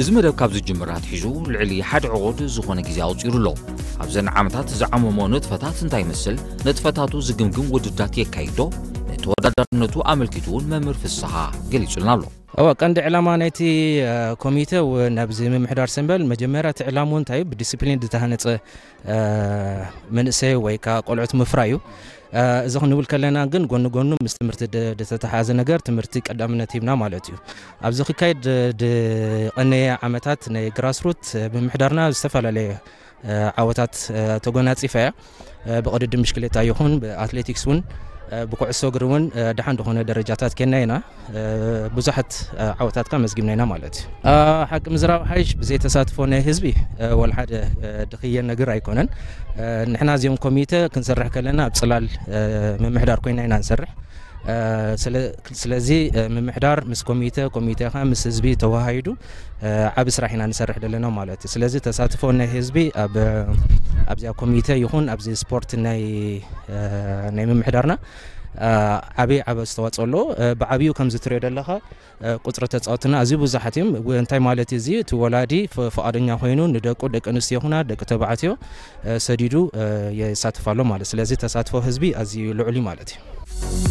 እዚ መደብ ካብ ዝጅምር ኣትሒዙ ልዕሊ ሓደ ዕቑድ ዝኾነ ግዜ ኣቑጺሩ ኣሎ። ኣብዘን ዓመታት ዝዓመሞ ንጥፈታት እንታይ ይመስል? ንጥፈታቱ ዝግምግም ውድድራት የካይድ ዶ? ንተወዳዳርነቱ ኣመልኪቱ እውን መምህር ፍስሓ ገሊጹልና ኣሎ። እወ፣ ቀንዲ ዕላማ ናይቲ፣ እ፣ ኮሚተ ው-፣ ናብዚ ምምሕዳር ሰምበል መጀመርያ እቲ ዕላምኡ እንታይ እዩ? ብዲስፕሊን ዝተሃነጸ፣ እ፣ መንእሰይ ወይ ከኣ ቆልዑት ምፍራይ እዩ። እ፣ እዚ ክንብል ከለና ግን ጎኒ ጎኑ ምስ ትምህርቲ ድ-፣ ዝተተሓሓዘ ነገር ትምህርቲ ቀዳምነት ሂብና ማለት እዩ። ኣብዚ ክካየድ ድ-፣ ድቐነየ ዓመታት ናይ ግራስሩት ምምሕዳርና ዝተፈላለየ፣ እ፣ ዓወታት፣ እ፣ ተጎናጺፋ እያ። እ፣ ብቕድድም ብሽክሌታ ይኹን ብኣትሌቲክስ እውን፣ እ፣ ብኩዕሶ እግሪ እውን፣ እ፣ ደሓን ዝኾነ ደረጃታት ኬና ኢና። እ፣ ብዙሓት፣ እ፣ ዓወታት ከኣ መዝጊብና ኢና ማለት እዩ። እ፣ ሓቂ ምዝራብ ሓይሽ ብዘይ ተሳትፎ ናይ ህዝቢ፣ እ፣ ወላ ሓደ፣ እ፣ ድኽየ ነገር ኣይኮነን። እ፣ ንሕና እዚኦም ኮሚተ ክንሰርሕ ከለና ኣብ ጽላል፣ እ፣ ምምሕዳር ኮይና ኢና ንሰርሕ። እ፣ ስለ-፣ ስለዚ፣ እ፣ ምምሕዳር ምስ ኮሚተ፣ ኮሚተ ከኣ ምስ ህዝቢ ተወሃሂዱ፣ እ፣ ዓቢ ስራሕ ኢና ንሰርሕ ዘለና ማለት እዩ። ስለዚ ተሳትፎ ናይ ህዝቢ ኣብ፣ ኣብዚኣ ኮሚተ ይኹን ኣብዚ ስፖርት ናይ፣ እ፣ ናይ ምምሕዳርና፣ እ፣ ዓቢ፣ ዓቢ ኣስተዋጽኦ ኣለዎ። እ፣ ብዓቢኡ ከምዚ ትሪኦ ዘለኻ፣ እ፣ ቁጽሪ ተጻወትና ኣዝዩ ብዙሓት እዮም። ው-፣ እንታይ ማለት እዩ እዚ? እቲ ወላዲ ፍ-፣ ፍቓደኛ ኮይኑ ንደቁ፣ ደቂ ኣንስትዮ ይኹና ደቂ ተባዕትዮ፣ እ፣ ሰዲዱ፣ እ፣ የሳትፍ ኣሎ ማለት። ስለዚ ተሳትፎ ህዝቢ ኣዝዩ ልዑል እዩ ማለት እዩ።